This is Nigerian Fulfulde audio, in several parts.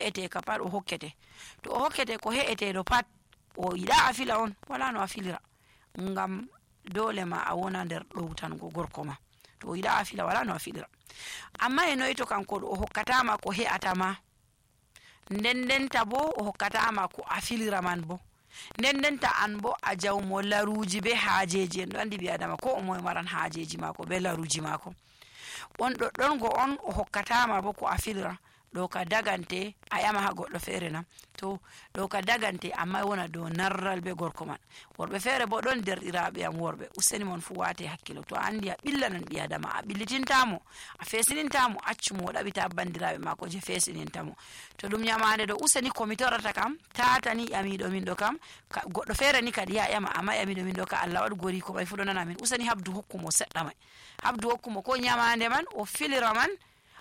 he'ete ka pat o hokkete. To o hokkete ko he'ete do pat o yiɗa a fila on wala no a filira, ngam dole ma a wona nder ɗowtango gorko ma. To o yiɗa a fila wala no a filira. Amma e noy to kanko o hokkatama ko he'ata ma, ndendenta bo o hokkatama ko a filira man bo, ndendenta an bo a jawmo laruji be haajeji. En ɗo andi ɓi adama ko o moye maran haajeji mako be laruji mako. On ɗon go on o hokkatama bo ko a filira, ɗo ka dagante a yama ha goɗɗo feere na. To ɗo ka dagante amma wona dow narral be gorko man. Worɓe feere bo ɗon derɗiraɓe am worɓe, useni mon fu wate hakkilo. To a andi a ɓillanan ɓi adama, a ɓillitintamo, a fesinintamo, accumo o ɗaɓita bandiraɓe mako je fesinintamo. To ɗum nyamande ɗo useni komi torata kam tatani ƴamiɗo min ɗo kam, goɗɗo feere ni kadi ya ƴama, amma ƴamiɗo min ɗo ka Allah waɗu gori ko ɓay fu ɗo nana min, useni habdu hokkumo seɗɗa mai, habdu hokkumo ko nyamande man o filira man,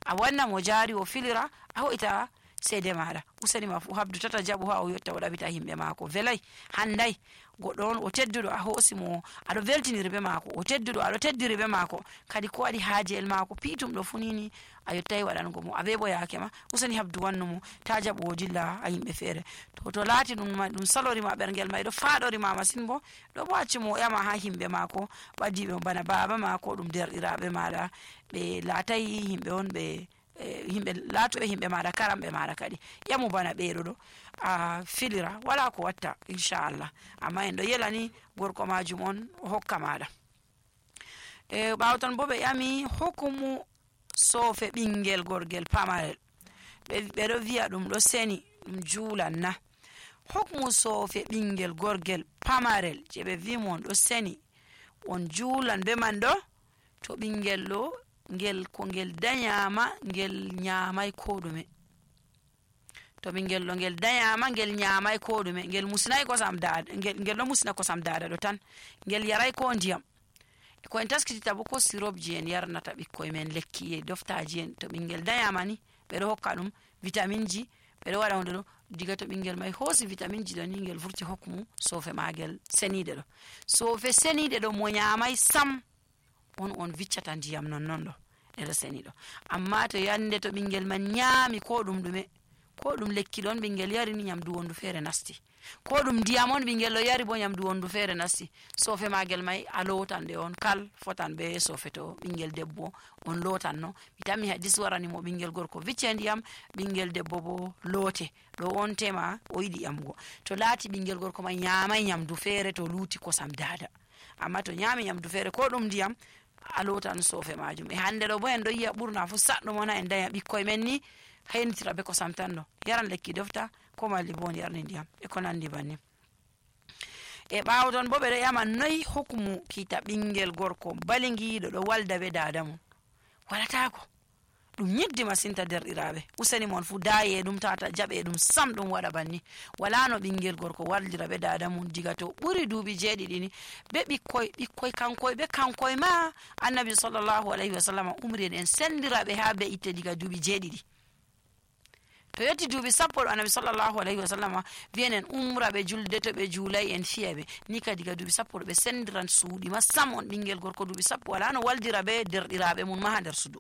a wanna mo jari o filira, a hoita seede maɗa. Useni ma fu habdu tata jaɓu ha o yotta o ɗaɓita himɓe mako, velay handay. Goɗɗo on o tedduɗo a hosimo, aɗo veltiniri be mako, o tedduɗo aɗo teddiri be mako, kadi ko waɗi haajel mako piitum ɗo funini a yottai waɗango mo, a be bo yaake ma, useni habdu wannumo, ta jaɓu o dilla a yimɓe feere. To laati ɗum salorima ɓergel ma ɗo faɗorima masin bo, ɗo bo accumo o ƴama ha yimɓe mako ɓadiɓe bana baba mako, ɗum derɗiraɓe maɗa, ɓe laatai yimɓe on ɓe yimɓe laatuɓe yimɓe maɗa, karamɓe maɗa kadi ƴamu bana ɓeɗo ɗo a filira, wala ko watta inchallah. Amma en ɗo yelani gorko majum on o hokka maɗa. Ɓawo ton bo ɓe ƴami hukumu soofe ɓingel gorgel pamarel, ɓeɗo wiya ɗum ɗo seni, ɗum juulan na. Hukumu soofe ɓingel gorgel pamarel je ɓe wimo on ɗo seni on juulan be man ɗo, to ɓingel ɗo ngel ko ngel danyama ngel nyamai ko ɗume. To ɓingel ɗo ngel danyama ngel nyamai ko ɗume, ngel musnai kosam dada, ngel ɗo musna kosam dada ɗo tan, ngel yarai ko ndiyam. Ko en taskitita bo ko sirop ji en yarnata ɓikkoy men, lekki e doftaji en, to ɓingel danyama ni ɓeɗo hokka ɗum vitamin ji, ɓeɗo waɗa hunde ɗo, diga to ɓingel mai hosi vitamin ji ɗo ni ngel vurti hokkumu soofe magel seniɗe ɗo. Soofe seniɗe ɗo mo nyamai sam on viccata ndiyam non ɗo ɗeɗo seniɗo. Amma to yande to ɓingel man nyami ko ɗum ɗume, ko ɗum lekki ɗon ɓingel yari ni nyamdu wondu feere nasti, ko ɗum ndiyam on ɓingel ɗo yari bo nyamdu wondu feere nasti, soofe magel mai a lotan ɗe on kal fotan be soofe to ɓingel debbo on lotan no. Mi tammi hadis warani mo ɓingel gorko vicce ndiyam, ɓingel debbo bo loote, ɗo on tema o yiɗi ƴamgo. To laati ɓingel gorko mai nyamai nyamdu feere to luuti kosam dada, amma to nyami nyamdu feere ko ɗum ndiyam a lotan soofe majum. E hande ɗo bo en ɗo yiya ɓurna fu saɗɗo mona en daya ɓikkoy men ni haynitira be kosam tan ɗo, yaran lekki dofta ko malli bo on yarni ndiyam e ko nandi banni. E ɓawo ton bo ɓeɗo ƴama noy hukumu kiita ɓingel gorko balingiɗo ɗo walda be dada mum. Waɗatako, ɗum nyiddi masinta derɗiraɓe, useni mon fu daye ɗum tata jaɓe ɗum sam ɗum waɗa banni. Wala no ɓingel gorko waldira be dada mum diga to ɓuri duuɓi 7 ni, be ɓikkoy kankoy ma annabi sallallahu alaihi wasallam umri en sendiraɓe ha be itte diga duuɓi 7. To yetti duuɓi 10 ɗo annabi sallallahu alaihi wasallam wiyen en umra ɓe julde, to ɓe juulay en fiya ɓe, ni ka diga duuɓi 10 ɗo ɓe sendiran suuɗi ma sam. On ɓingel gorko duuɓi 10 wala no waldira be derɗiraɓe mum ma ha nder suudu.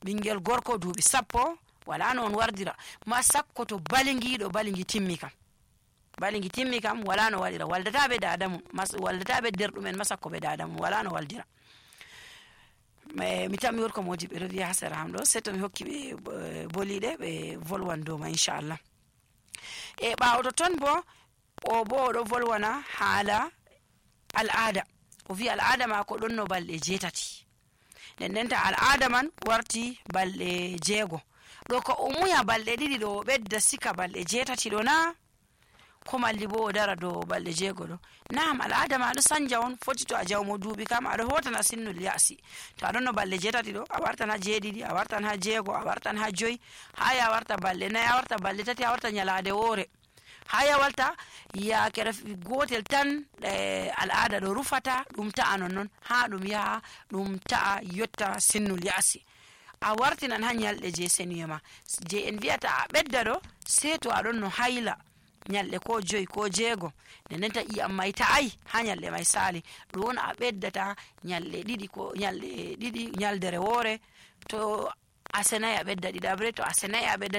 Ɓingel gorko duuɓi 10 wala no on wardira ma sakko to balingi timmi kam wala no waɗira, waldata be dada mum, waldata be derɗumen ma sakko be dada mum, wala no waldira. Mi tammi worko moji ɓeɗo wiya ha sera am ɗo, sei to mi hokki ɓe boliɗe ɓe volwan dow ma inchallah. E ɓawo to ton bo o bo oɗo volwana haala al'ada, o wi al'ada mako ɗon no balɗe 7, ndendenta al'ada man warti balɗe 6. ɗo ko o muya balɗe 2 ɗo o ɓedda sika balɗe 7 ɗo na, ko malli bo o dara dow balɗe 6 ɗo. Naam, al'ada ma ɗo sanja on, foti to a jawmo duuɓi kam aɗo hotana sinnul ya'si. To aɗon no balɗe 7 ɗo a wartan ha 7, a wartan ha 6, a wartan ha 5, haya a warta balɗe 4, a warta balɗe 3, a warta nyalade woore, haya walta yakere gotel tan al'ada ɗo rufata ɗum ta'a nonnon ha ɗum yaha ɗum ta'a yotta sinnul ya'si. A wartinan ha nyalɗe je seniyema je en wi'ata a ɓedda ɗo, sei to aɗon no hayla nyalɗe ko 5 ko 6, ndendenta ƴiyam mai ta'ai ha nyalɗe mai sali, ɗon a ɓeddata nyalɗe 2 ko nyalɗe 2 nyaldere woore. To a senai a ɓedda ɗiɗabre, to a senai a ɓeddata